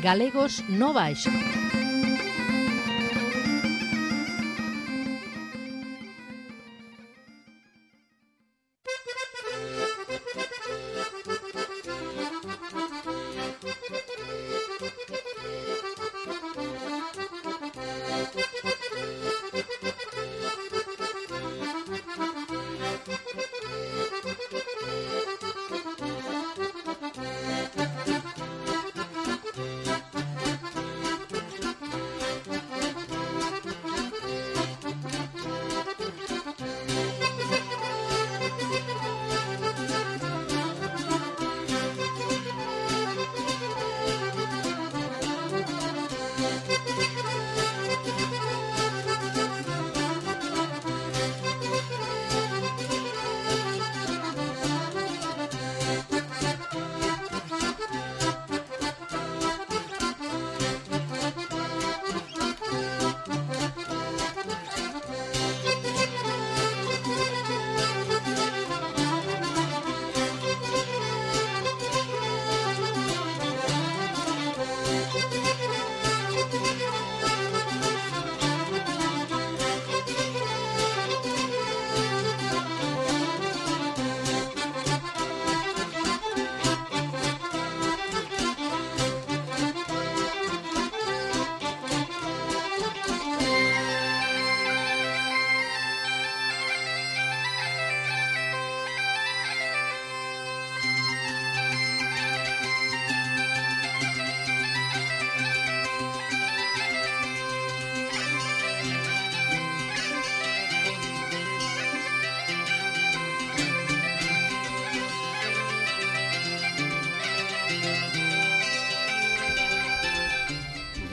Galegos no Baixo.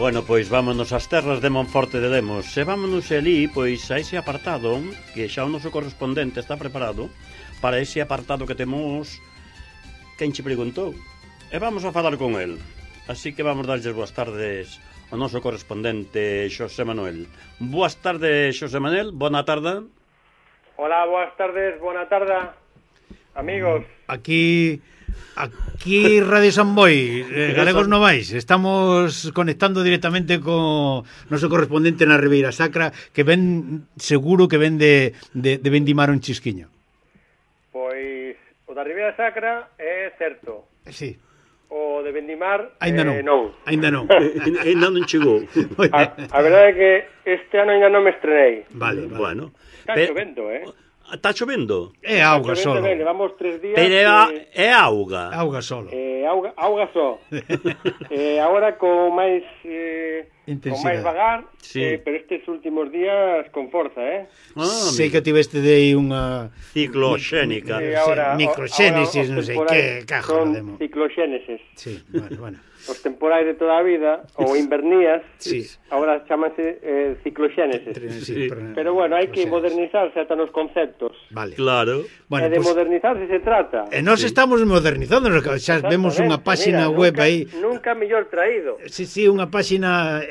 Bueno, pois vámonos ás terras de Monforte de Lemos. Se vámonos ali, pois a ese apartado, que xa o noso correspondente está preparado para ese apartado que temos quen che preguntou. E vamos a falar con el. Así que vamos darlles boas tardes ao noso correspondente Xosé Manuel. Boas tardes, Xosé Manuel, bona tarde. Hola, boas tardes, bona tarde, amigos. Aquí Radio San Boi, Galegos Novais. Estamos conectando directamente co noso correspondente na Ribeira Sacra, que ven, seguro que ven de vendimar un chisquiño. Pois o da Ribeira Sacra é certo. Sí. O de vendimar Ainda non. Ainda non. Ainda non chegou. A verdade é que este ano ainda non me estrenei. Vale. Bueno. Está chovendo, Está chovendo? É auga solo. Levamos 3 días. Pero é auga. Auga solo. Auga só. Agora con máis con máis vagar, sí. Pero estes últimos días con forza, Sei que tiveste de aí unha cicloxénica. Microxénesis, non sei que cajo demo. Cicloxénesis. Sí, bueno. Os temporais de toda a vida, ou invernías, sí. Agora chamanse cicloxénesis. Sí, pero bueno, hai que modernizarse ata nos conceptos. Vale. Claro. Bueno, de modernizarse se trata. E nós estamos modernizando, xa vemos unha páxina web aí. Nunca mellor traído. Sí, unha páxina...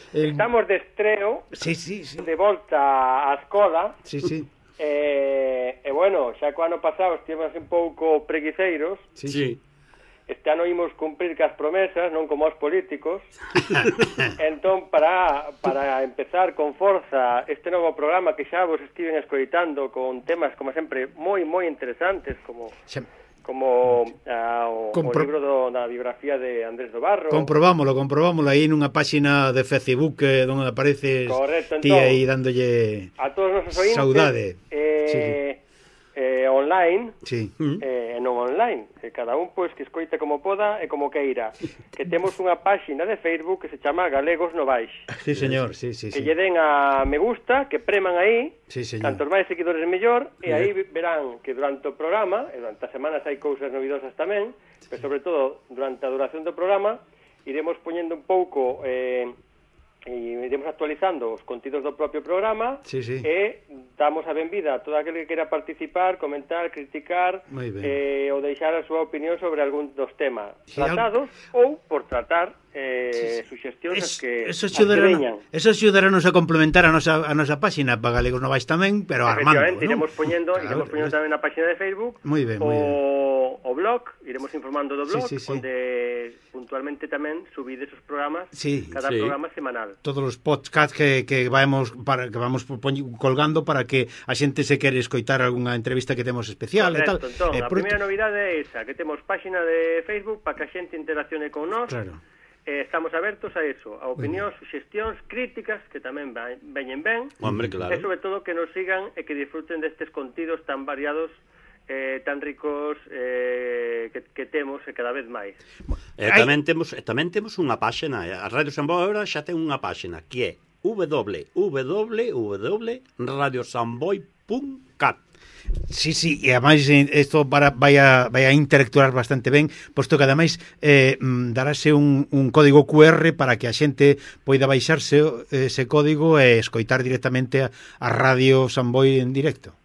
Estamos de estreo, sí. De volta á escola. Sí. E bueno, xa co ano pasado estivemos un pouco preguiceiros. Sí. Este ano imos cumprir cas promesas, non como os políticos. Entón, para empezar con forza este novo programa que xa vos estiven escoitando con temas, como sempre, moi interesantes, como o libro da biografía de Andrés do Barro. Comprobámolo aí nunha páxina de Facebook onde apareces. Correcto, ti aí dándolle a todos os nosos ointes, saudade. Online, non online, cada un pois que escoite como poda e como queira. Que temos unha páxina de Facebook que se chama Galegos Novais. Sí, señor, sí. Que lle den a me gusta, que preman aí, tantos máis seguidores mellor, e aí verán que durante o programa, e durante as semanas hai cousas novidosas tamén, pero sobre todo durante a duración do programa, iremos poñendo un pouco e iremos actualizando os contidos do propio programa e damos a benvida a todo aquel que queira participar, comentar, criticar ou deixar a súa opinión sobre algún dos temas tratados ou por tratar suxestións que veñan. Eso axudará-nos a complementar a nosa páxina para Galegos Novais tamén, pero armando, iremos poñendo tamén na páxina de Facebook o o blog, iremos informando do blog, onde puntualmente tamén subide esos programas, cada programa semanal. Todos os podcasts que vamos colgando para que a xente se quere escoitar algunha entrevista que temos especial. Correcto, e tal. Entón, a primeira novidade é esa, que temos páxina de Facebook para que a xente interaccione con nós. Claro. Estamos abertos a eso, a opinións, suxestións, críticas, que tamén veñen ben. Hombre, claro. E sobre todo que nos sigan e que disfruten destes contidos tan variados, tan ricos que temos e cada vez máis. Tamén temos unha páxina, a Radio Samboy agora xa ten unha páxina que é www.radiosamboy.cat. Sí, e ademais isto vai a interactuar bastante ben, posto que ademais darase un código QR para que a xente poida baixarse ese código e escoitar directamente a Radio Samboy en directo.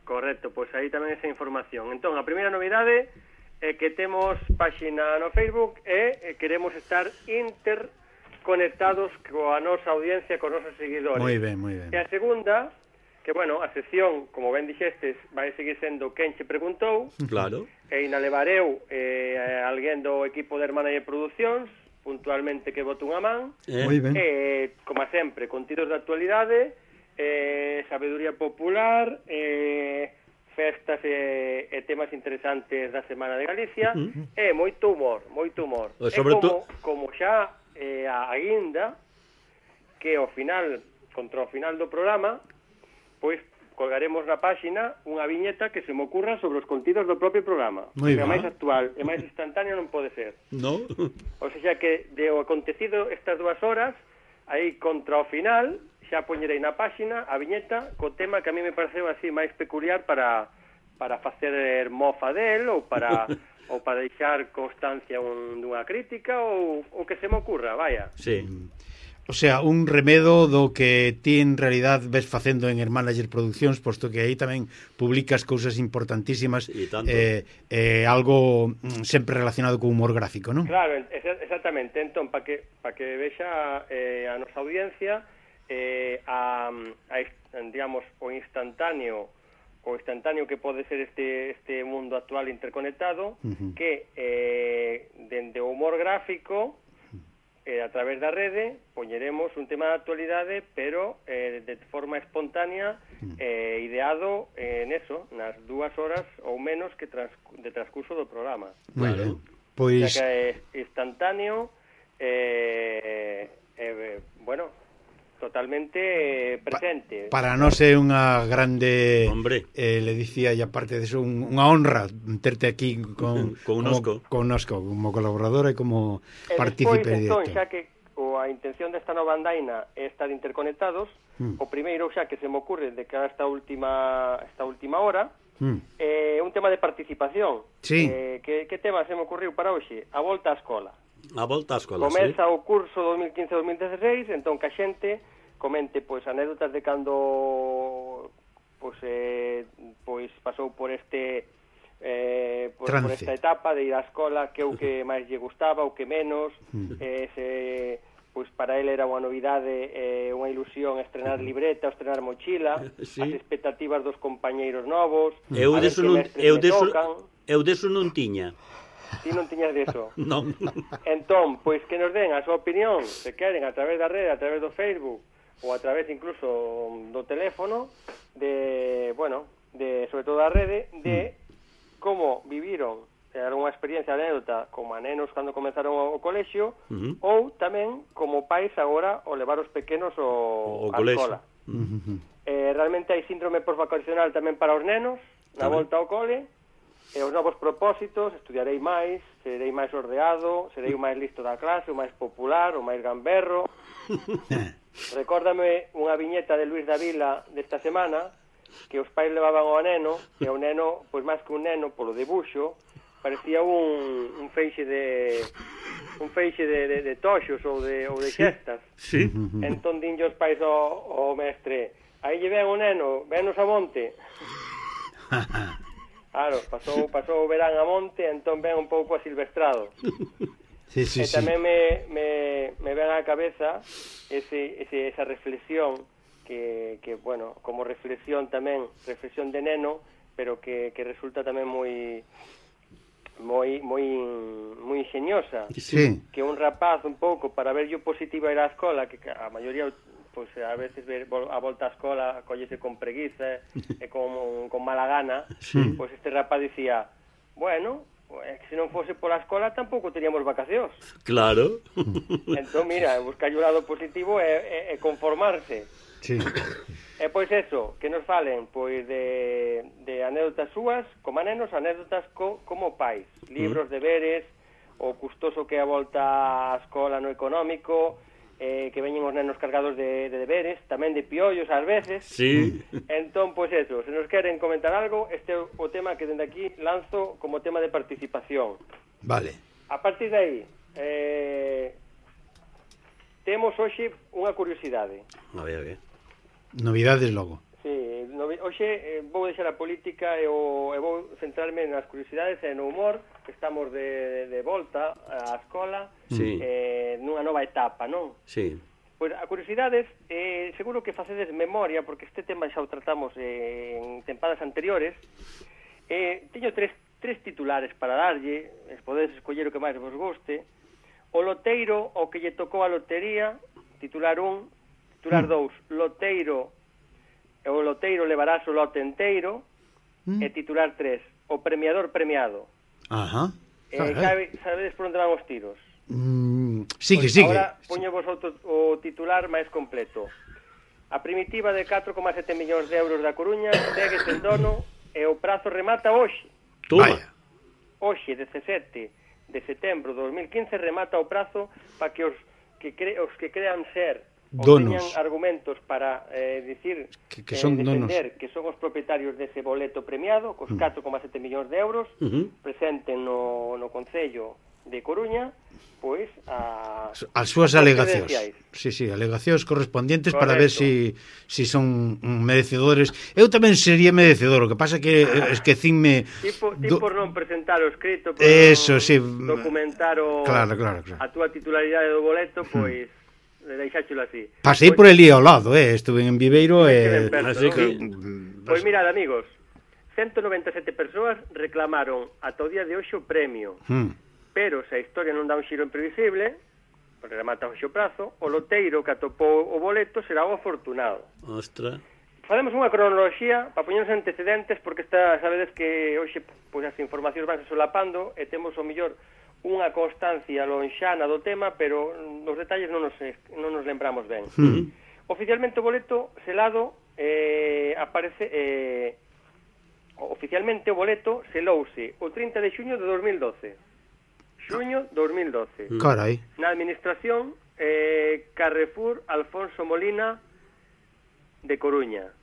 Correcto, pois aí tamén esa información. Entón, a primeira novidade é que temos páxina no Facebook e queremos estar interconectados coa nosa audiencia, con nosos seguidores. Moi ben. E a segunda, que, bueno, a sección, como ben dixestes, vai seguir sendo Quen che preguntou. Claro. E inalevareu alguén do equipo de Hermana de Producións, puntualmente que bote unha man. Moi ben. Como sempre, contidos de actualidade, sabeduría popular, festas e temas interesantes da Semana de Galicia, e moito humor. E sobre como xa a guinda, que ao final, contra o final do programa, pois colgaremos na páxina unha viñeta que se me ocurra sobre os contidos do propio programa. Moi ben. Máis actual e máis instantáneo non pode ser. No. O sea que de o acontecido estas 2 horas, aí contra o final, xa poñerei na páxina a viñeta co tema que a mí me pareceu así máis peculiar para facer mofa del ou para deixar constancia dunha crítica ou que se me ocurra, vaya. Sí. O sea, un remedo do que ti en realidad ves facendo en Hermanager Produccións, posto que aí tamén publicas cousas importantísimas e algo sempre relacionado con humor gráfico, non? Claro, exactamente. Entón, para que vexa a nosa audiencia digamos, o instantáneo que pode ser este mundo actual interconectado, que dende o humor gráfico, a través da rede, poñeremos un tema de actualidade, pero de forma espontánea, ideado neso, nas 2 horas ou menos de transcurso do programa. Claro. Pois... O sea que é instantáneo, bueno, totalmente presente. Para nós é unha grande, hombre, le dicía, e aparte de eso, unha honra terte aquí connosco como colaboradora e como partícipe directo. Entón, xa que a intención desta nova andaina é estar interconectados, o primeiro xa que se me ocurre de cara a esta última hora, un tema de participación. Sí. Que tema se me ocurriu para hoxe? A volta á escola. A volta á escola, Comeza o curso 2015-2016, entón que a xente comente pois anécdotas de cando pois pasou por este por esta etapa de ir á escola, que o que máis lle gustaba, o que menos, pois para ele era unha novidade, unha ilusión estrenar libreta, estrenar mochila, as expectativas dos compañeiros novos, eu deso non tiña. Ti non tiñas deso. Non. Entón, pois que nos den a súa opinión, se queren, a través da rede, a través do Facebook, ou a través incluso do teléfono, sobre todo da rede, de como viviron algunha experiencia, anécdota, como a nenos cando comenzaron o colexio, ou tamén como pais agora o levar os pequenos á escola. Realmente hai síndrome postvacacional tamén para os nenos, na volta ao cole, e os novos propósitos: estudiarei máis, serei máis ordeado, serei o máis listo da clase, o máis popular, o máis gamberro. Recórdame unha viñeta de Luis Davila desta semana, que os pais levaban ao neno, e o neno, pois máis que un neno, polo debuxo, parecía un feixe de toxos ou de xestas. Sí. Entón dinlle os pais ao mestre: aí lle ven o neno, venos a monte. Claro, pasou o verán a monte, entón ven un pouco asilvestrado. E tamén me ven á cabeza esa reflexión que, bueno, como reflexión tamén, reflexión de neno, pero que resulta tamén moi moi ingeniosa, que un rapaz un pouco para ver yo positivo a ir á escola, que a maioría pois a veces a volta á escola collese con preguiza e con mala gana, pois este rapaz dicía, bueno, que se non fose pola escola tampouco teríamos vacacións. Claro. Entón, mira, buscar o lado positivo é conformarse. Sí. E pois eso, que nos falen pois de anécdotas súas como nenos, anécdotas como pais, libros, deberes, o custoso que é a volta á escola no económico, que veñen os nenos cargados de deberes, tamén de piollos ás veces. Sí. Entón, pois eso, se nos queren comentar algo, este é o tema que dende aquí lanzo como tema de participación. Vale. A partir de aí, temos hoxe unha curiosidade. A ver. Novidades logo. Sí, hoxe vou deixar a política e vou centrarme nas curiosidades e no humor, que estamos de volta á escola, nunha nova etapa, non? Sí. Pois a curiosidades, seguro que facedes memoria, porque este tema xa o tratamos en tempadas anteriores. Teño tres titulares para darlle, podedes escoller o que máis vos guste. O loteiro, o que lle tocou a lotería, titular 1. Titular 2, loteiro, o loteiro levarás o lote enteiro, e titular 3, o premiador premiado. Ajá. Sabedes por onde van os tiros? Sigue. Agora poñevos o titular máis completo. A primitiva de 4,7 millóns de euros da Coruña segue sen dono e o prazo remata hoxe. Toma. Hoxe, 17 de setembro de 2015, remata o prazo para que os que crean ser ou teñan argumentos para dicir que son defender donos, que son os propietarios dese boleto premiado cos 4,7 millóns de euros, presenten no Concello de Coruña pois as súas alegacións. Sí, alegacións correspondientes. Correcto. Para ver si son merecedores. Eu tamén sería merecedor, o que pasa que esquecínme por non presentar o escrito, por eso, sí, documentar claro. A túa titularidade do boleto, pois deixáchelo así. Pasei por el ao lado, estuve en Viveiro así que... Pois mirad, amigos, 197 persoas reclamaron ata o día de hoxe o premio, pero se a historia non dá un xiro imprevisible, porque remata hoxe o prazo, o loteiro que atopou o boleto será o afortunado. Ostra. Facemos unha cronoloxía para poñernos antecedentes, porque sabedes que hoxe pois as informacións vanse solapando e temos o mellor unha constancia lonxana do tema, pero os detalles non nos lembramos ben. Oficialmente o boleto selado oficialmente o boleto selouse o 30 de xuño de 2012. Xuño 2012. Carai. Na administración Carrefour Alfonso Molina de Coruña.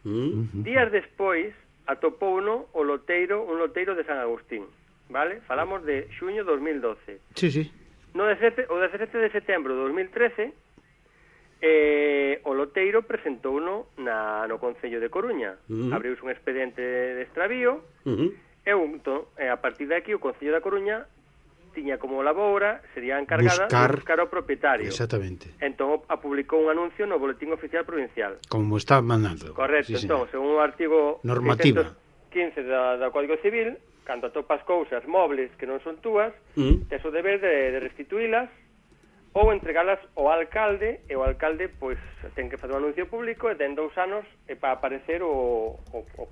Días despois atopouno un loteiro de San Agustín. Vale? Falamos de xuño 2012. Sí. O 17 de setembro de 2013 o loteiro presentouno no Concello de Coruña. Abriuse un expediente de extravío e a partir de aquí o Concello da Coruña tiña como labora, sería encargada de buscar o propietario. Exactamente. Entón publicou un anuncio no Boletín Oficial Provincial. Como está mandando. Correcto, entón, según o artigo normativa 615 do Código Civil, cando atopas cousas mobles que non son túas, tes o deber de restituílas ou entregalas ao alcalde, e o alcalde pois ten que facer un anuncio público e ten 2 anos para aparecer o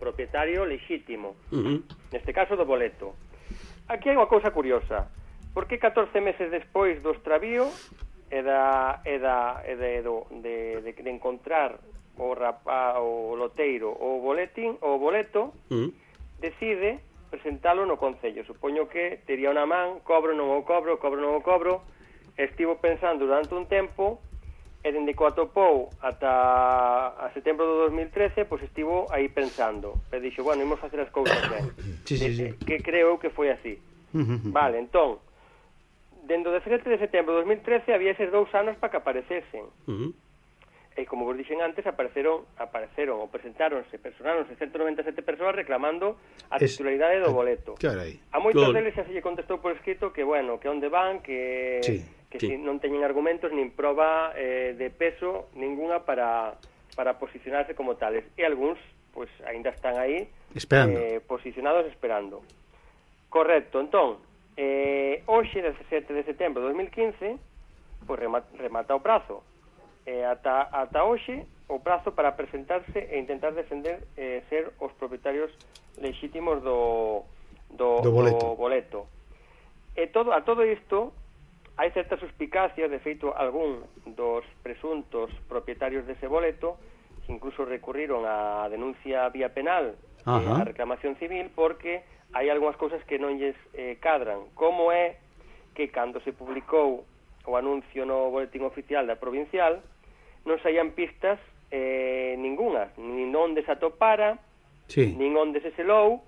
propietario lexítimo, neste caso do boleto. Aquí hai unha cousa curiosa, porque 14 meses despois do extravío e de encontrar o loteiro o boleto, decide presentalo no Concello. Supoño que tería unha man, cobro, non o cobro, estivo pensando durante un tempo, e dende que o atopou ata a setembro do 2013, pois estivo aí pensando, e dixo, bueno, imos facer as cousas ben. Sí. Que creo que foi así. Vale, entón, dende o 17 de setembro de 2013 había eses 2 anos para que aparecesen. E como vos dixen antes, apareceron ou personáronse 197 persoas reclamando a titularidade do boleto. Carai. A moitos deles xa se lle contestou por escrito que, bueno, que onde van, que non teñen argumentos nin proba de peso ninguna para posicionarse como tales. E algúns, pois, aínda están aí esperando. Posicionados esperando. Correcto, entón, Hoxe, 17 de setembro de 2015, pois remata o prazo. Ata hoxe, o prazo para presentarse e intentar defender ser os propietarios lexítimos do boleto. A todo isto, hai certas suspicacias, de feito, algún dos presuntos propietarios dese boleto incluso recurriron á denuncia vía penal a reclamación civil, porque hai algunhas cousas que non lles cadran, como é que cando se publicou o anuncio no boletín oficial da provincial non saían pistas ningunhas, nin onde se atopara, nin onde se selou,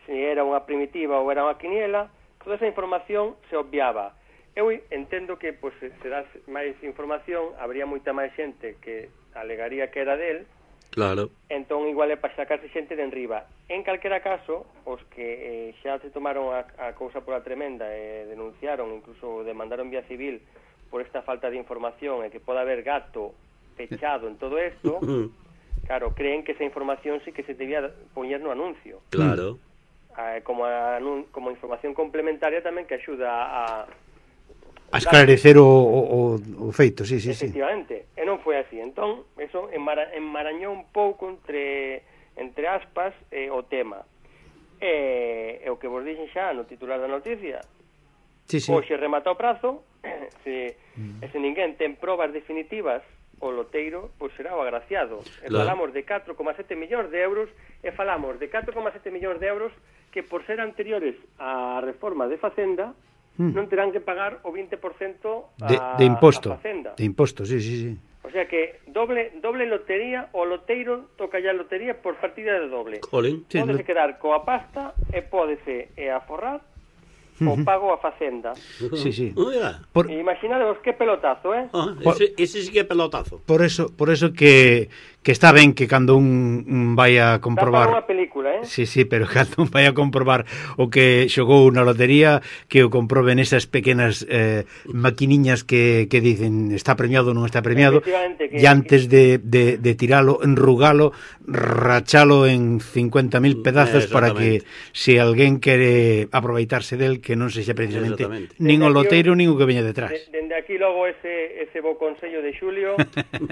se era unha primitiva ou era unha quiniela. Toda esa información se obviaba. Eu entendo que, pois, se das máis información, habría moita máis xente que alegaría que era del. Claro. Entón, igual é para sacarse xente de enriba. En calquera caso, os que xa se tomaron a cousa pola tremenda e denunciaron, incluso demandaron vía civil por esta falta de información e que pode haber gato pechado en todo isto, claro, creen que esa información sí que se debía poñer no anuncio. Claro. Como información complementaria tamén que axuda a esclarecer o feito, sí. Efectivamente, e non foi así. Entón, eso enmarañou un pouco entre aspas o tema. E o que vos dixen xa no titular da noticia, hoxe remata o prazo, se ninguén ten probas definitivas, o loteiro pois será o agraciado. Falamos de 4,7 millóns de euros, e falamos de 4,7 millóns de euros que, por ser anteriores á reforma de Facenda, non terán que pagar o 20% de imposto. A Facenda. De imposto, sí. O sea que doble lotería, o loteiro toca ya lotería por partida de doble. Pódese quedar coa pasta e pódese aforrar o pago a Facenda. Sí. Imaginadevos que pelotazo, Ese sí que é pelotazo. Por eso que está ben que cando un vai a comprobar... Está para unha película, Sí, pero cando un vai a comprobar o que xogou na lotería, que o comproben esas pequenas maquiniñas que dicen está premiado ou non está premiado, e antes de tiralo, enrugalo, rachalo en 50.000 pedazos para que se alguén quere aproveitarse del, que non sexa precisamente nin o loteiro nin o que veña detrás. Dende aquí logo ese bo consello de Xulio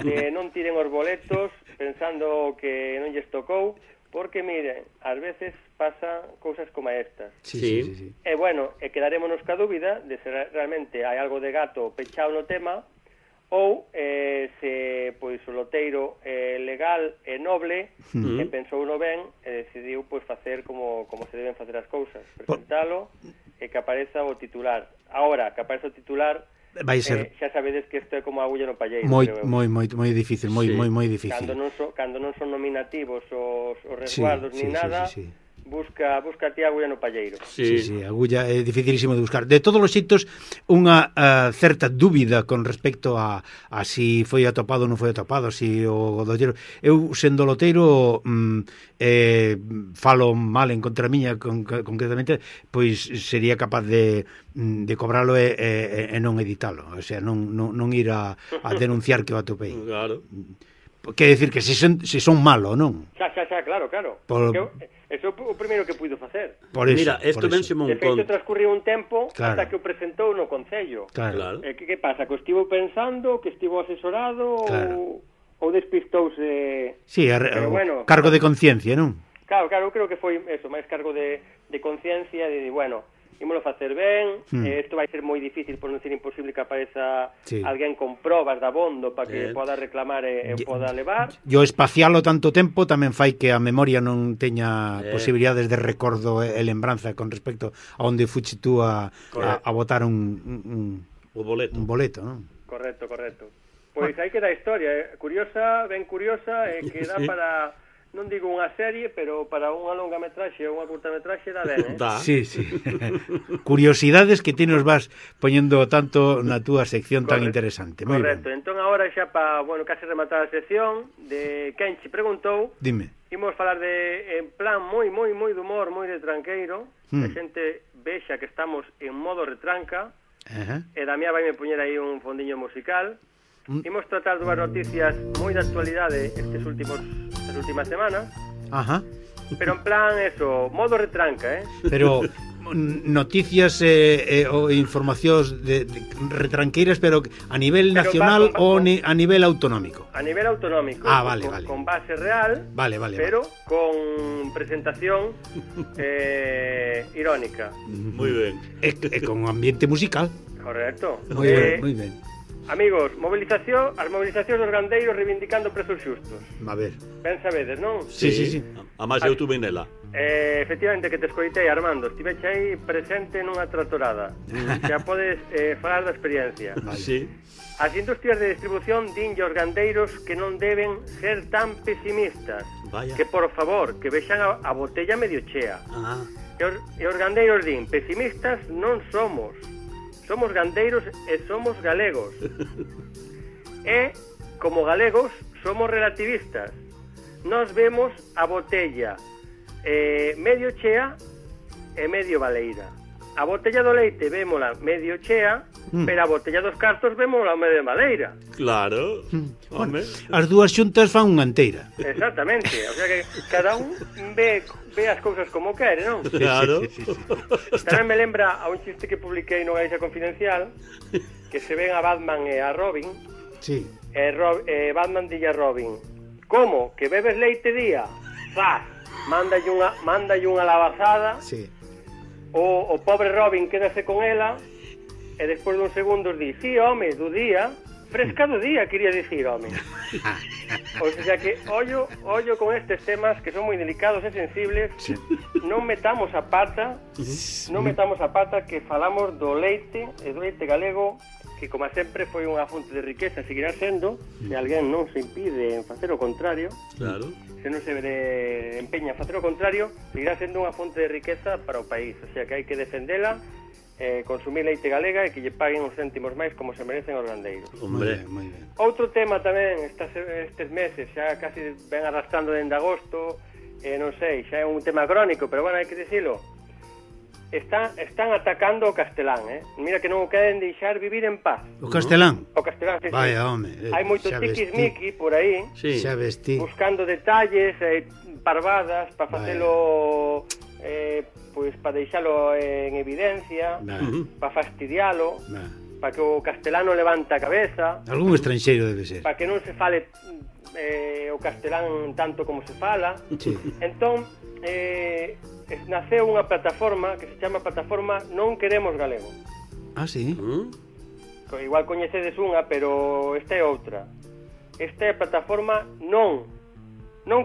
de non tiren os boletos pensando que non lles tocou, porque, mire, ás veces pasa cousas como estas. Sí. E, bueno, quedarémonos ca dúbida de se realmente hai algo de gato pechado no tema, ou se, pois, o loteiro legal e noble e pensou no ben e decidiu, pois, facer como se deben facer as cousas, presentalo e que apareza o titular. Agora, que apareza o titular, vai ser xa sabedes que isto é como a agulla no palleiro. Moi difícil, moi difícil. Cando non son nominativos os resguardos ni nada, busca ti a agulla no palleiro. Sí, agulla é dificilísimo de buscar. De todos os xeitos, unha certa dúbida con respecto a si foi atopado ou non foi atopado, si o loteiro... Eu, sendo loteiro, falo mal en contra miña concretamente, pois sería capaz de cobralo e non editalo, o sea, non ir a denunciar que o atopei. Claro. Quer decir que se son malo, non? Xa, claro. Eso é o primeiro que puido facer. Mira, isto vénseme un conto. De feito, transcurriu un tempo ata que o presentou no Concello. Claro. Que pasa? Que o estivo pensando, que estivo asesorado, ou despistouse... Sí, cargo de conciencia, non? Claro, eu creo que foi eso, máis cargo de conciencia, de, bueno, ímolo facer ben, isto vai ser moi difícil, por non ser imposible que apareza alguén con probas de abondo para que poda reclamar e poda levar. E o espacialo tanto tempo tamén fai que a memoria non teña posibilidades de recordo e lembranza con respecto a onde fuche tú a botar un boleto, non? Correcto. Pois aí queda a historia, curiosa, ben curiosa, e que dá para... non digo unha serie, pero para unha longa metraxe ou unha curta metraxe dá ben, Sí. Curiosidades que ti nos vas poñendo tanto na túa sección tan interesante. Moi correcto. Ben. Entón, agora xa para, case rematar a sección de Quen che preguntou, dime. Imos falar en plan moi de humor, moi de tranqueiro, a xente vexa que estamos en modo retranca, e Damián vai me poñer aí un fondiño musical. Imos tratar dúas noticias moi de actualidade estas últimas semanas. Pero en plan, modo retranca, Pero noticias ou informacións retranqueiras, pero a nivel nacional ou a nivel autonómico? A nivel autonómico. Vale. Con base real, pero con presentación irónica. Moi ben. E con ambiente musical. Correcto. Moi ben. Amigos, as mobilizacións dos gandeiros reivindicando prezos xustos. A ver. Ben sabedes, non? Sí. A máis eu tuve nela. Efectivamente, que te escoitei, Armando. Estiveche aí presente nunha tratorada. Xa podes falar da experiencia. Sí. As industrias de distribución dinlle aos gandeiros que non deben ser tan pesimistas. Vaya. Que, por favor, que vexan a botella medio chea. E os gandeiros din, pesimistas non somos. Somos gandeiros e somos galegos. E, como galegos, somos relativistas. Nos vemos a botella medio chea e medio baleira. A botella do leite vémola medio chea, pero a botella dos cartos vémola medio baleira. Claro. Bueno, as dúas xuntas fan unha enteira. Exactamente. O sea que cada un ve as cousas como quere, non? Claro. Sí. Tamén me lembra a un chiste que publiquei no Galicia Confidencial, que se ven a Batman e a Robin. Sí. Batman dille a Robin: como? Que bebes leite día? Zas, mándalle unha lavazada. Sí. O pobre Robin quédase con ela e despois dun segundo di: sí, home, do día. Fresca do día, quería dicir, home. O sea que, ollo con estes temas que son moi delicados e sensibles. Non metamos a pata que falamos do leite e do leite galego, que como sempre foi unha fonte de riqueza, seguirá sendo, se alguén non se impide en facer o contrario. Claro. Se non se empeña a facer o contrario, seguirá sendo unha fonte de riqueza para o país. O sea que hai que defendela, consumir leite galega e que lle paguen uns céntimos máis como se merecen os gandeiros. Hombre, moi ben. Outro tema tamén estes meses, xa casi ven arrastrando dende agosto, non sei, xa é un tema crónico, pero bueno, hai que dicilo. Están atacando o castelán, Mira que non o queren deixar vivir en paz. O castelán? O castelán, sí. Vaya, home. Hai moito tiquismiqui por aí, sí. Xa vestí. Buscando detalles, parvadas, para facelo... pois para deixalo en evidencia, para fastidialo, para que o castelán levante a cabeza, algún estranxeiro debe ser, para que non se fale o castelán tanto como se fala. Sí. Entón naceu unha plataforma que se chama Plataforma Non Queremos Galego. Ah, sí? Igual coñecedes unha, pero esta é outra. Esta é a plataforma Non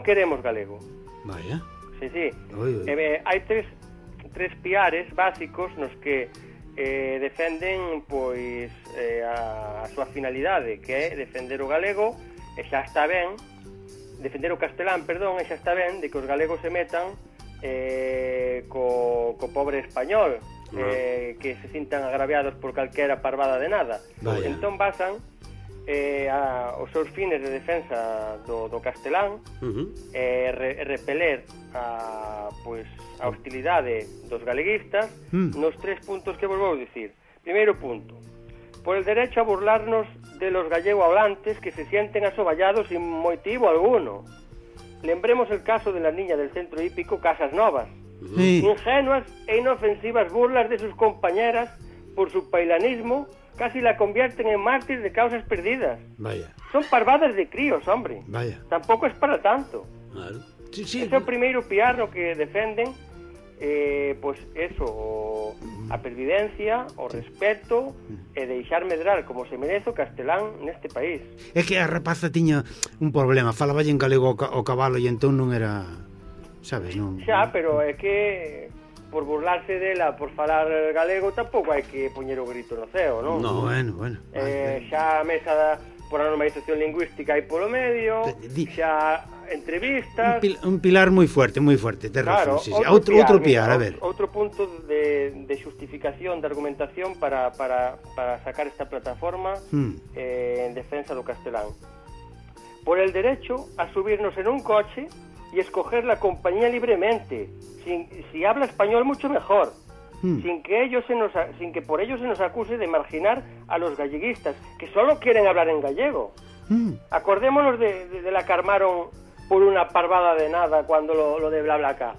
Queremos Galego. Vaya. Sí. Hai tres piares básicos nos que defenden pois a súa finalidade, que é defender o galego, e xa está ben, defender o castelán, perdón, e xa está ben de que os galegos se metan co pobre español, que se sintan agraviados por calquera parvada de nada. Vaya. Entón basan os seus fines de defensa do castelán, repeler a hostilidade dos galeguistas nos tres puntos que vos vou dicir. Primeiro punto: por el derecho a burlarnos de los gallego hablantes que se sienten asoballados sin motivo alguno. Lembremos el caso de la niña del centro hípico Casas Novas. Ingenuas e inofensivas burlas de sus compañeras por su pailanismo casi la convierten en mártir de causas perdidas. Vaya. Son parvadas de críos, hombre. Vaya. Tampouco es para tanto. Claro. Sí. Ese é o primeiro piar no que defenden pois eso, a pervivencia, o respeto e deixar medrar como se merece o castelán neste país. É que a rapaza tiña un problema, falaba en galego o cabalo e entón non era, sabes, non? Xa, pero é que por burlarse dela, por falar galego, tampouco hai que poñer o grito no ceo, non? No, bueno. Xa a mesa por a normalización lingüística hai polo medio, xa entrevistas... Un pilar moi fuerte, ten claro, razón. Sí. Outro piar, a ver. Outro punto de xustificación, de argumentación para sacar esta plataforma en defensa do castelán. Por el derecho a subirnos en un coche y escoger la compañía libremente. Si habla español, mucho mejor. Sin que por ello se nos acuse de marginar a los galleguistas, que solo quieren hablar en gallego. Acordémonos de la que armaron por una parvada de nada cuando lo de BlaBlaCar.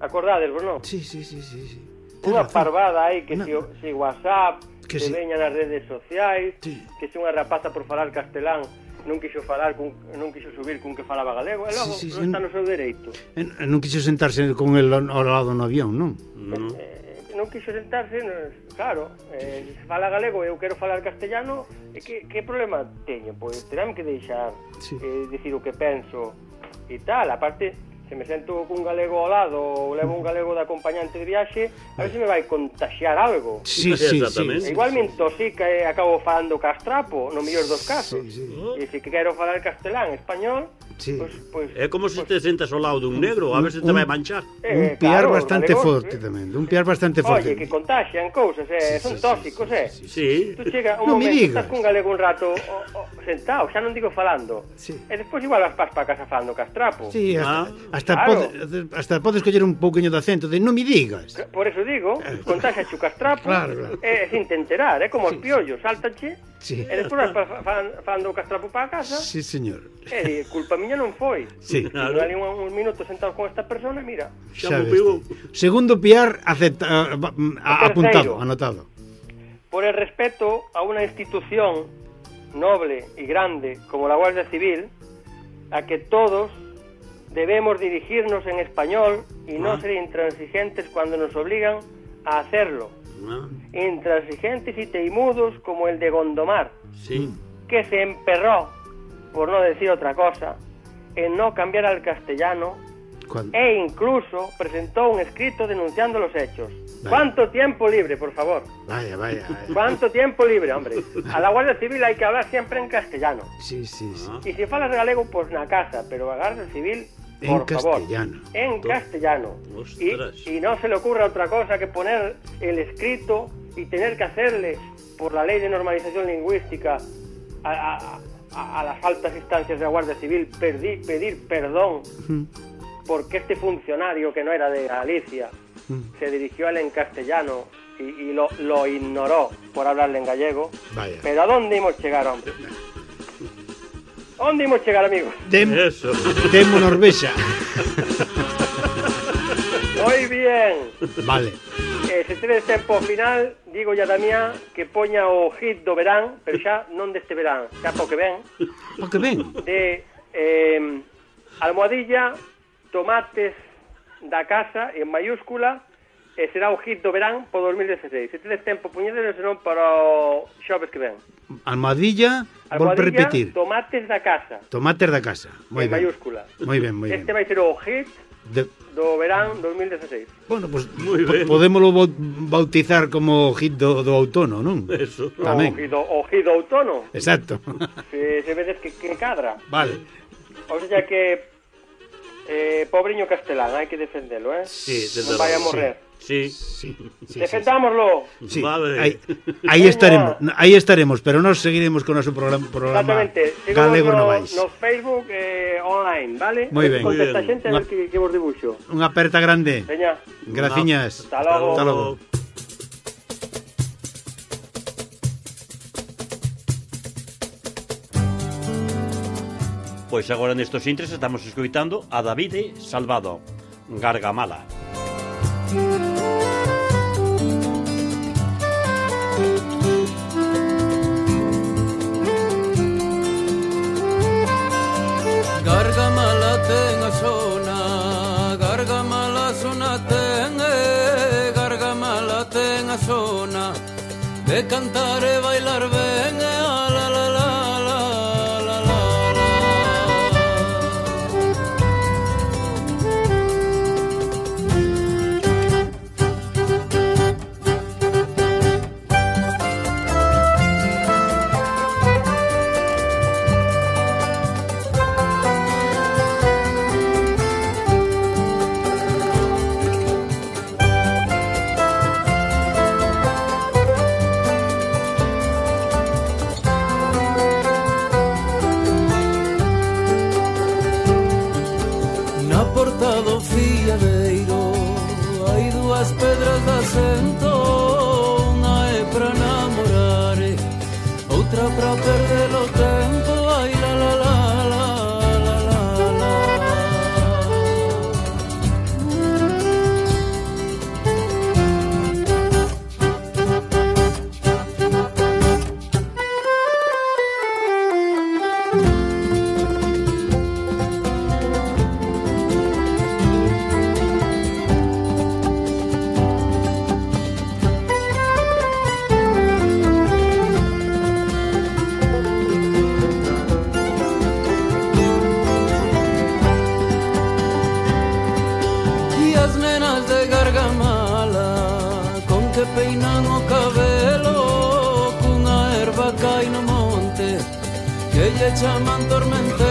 Acordadesvos, non? Sí. Unha parvada aí que se WhatsApp, que veña nas redes sociais, que se unha rapaza por falar castelán non quixo subir cun que falaba galego, e logo non está no seu dereito. Non quixo sentarse con el ao lado no avión, non? Non quixo sentarse, claro, se fala galego e eu quero falar castellano, que problema teño? Pois terán que deixar dicir o que penso e tal, aparte se me sento cun galego ao lado ou levo un galego de acompañante de viaxe, a ver se me vai contaxiar algo. Sí, exactamente. Igual me intoxica e acabo falando castrapo, no mellor dos casos. E se quero falar castelán, español, pues, é como se te sentas ao lado dun negro, a ver se te vai manchar. Un piar bastante forte tamén, un piar bastante forte. Oye, que contaxian cousas, son tóxicos, Sí. Tú chega un momento, estás cun galego un rato sentado, xa non digo falando, e despois igual vas para casa falando castrapo. Sí, hasta podes coller un pouquiño de acento de non me digas. Por eso digo, contaxa chu castrapo, sin te enterar, como os piollos, sáltache, e despois vas falando castrapo para casa. Sí, señor. E culpa miña non foi. Sí. Claro. Ali uns minutos sentados con esta persona, mira. Xa ves. Segundo piar apuntado, anotado. Por el respeto a una institución noble y grande como la Guardia Civil, a que todos debemos dirigirnos en español y no ser intransigentes cuando nos obligan a hacerlo. Intransigentes y teimudos como el de Gondomar, que se emperró, por no decir otra cosa, en no cambiar al castellano e incluso presentó un escrito denunciando los hechos. ¿Cuánto tiempo libre, por favor? Vaya. ¿Cuánto tiempo libre, hombre? A la Guardia Civil hay que hablar siempre en castellano. Sí. Y si falas galego, pues na casa, pero a Guardia Civil, por favor, en castellano. Y no se le ocurra otra cosa que poner el escrito y tener que hacerle, por la ley de normalización lingüística, a las altas instancias de la Guardia Civil, pedir perdón porque este funcionario, que no era de Galicia, se dirigió a él en castellano y lo ignoró por hablarle en gallego. Vaya. Pero ¿a dónde hemos llegar, hombre? ¿A dónde hemos llegar, amigos? Demo Norvexa. Muy bien. Vale. Se tedes tempo final, digo ya Damián que poña o hit do verán, pero xa non deste verán, xa po que ven. Po que ven? De Almohadilla, tomates da casa en mayúscula, e será o hit do verán po 2016. Se tedes tempo, poñedelo, senón para o xoves que ven. Almohadilla, volve repetir. Tomates da casa. Tomates da casa. Moi ben. Mayúscula. Moi ben. Este vai ser o hit do verán 2016. Bueno, pues podémoslo bautizar como hit do outono, non? Eso. Tamén. O hit do outono. Exacto. Se vedes que cadra. Vale. O sea que pobriño castelán, hai que defendelo, Sí, non vai a morrer. Sí. Defendámoslo. Sí. Vale. Aí estaremos, pero nos seguiremos con o noso programa Galego no vais. No Facebook online, vale? Moi ben. Contesta xente a ver que vos dibuixo. Unha aperta grande. Veña. Graciñas. Hasta logo. Pois agora nestos intres estamos escoitando a Davide Salvado, Gargamala. Gargamala ten a zona ten, Gargamala ten a zona de cantar e bailar ben, la la la la la la. Do fiadeiro hai dúas pedras de asento, unha é para namorar, outra para perder o tempo, ai la la la la la la la. lle chaman tormentero.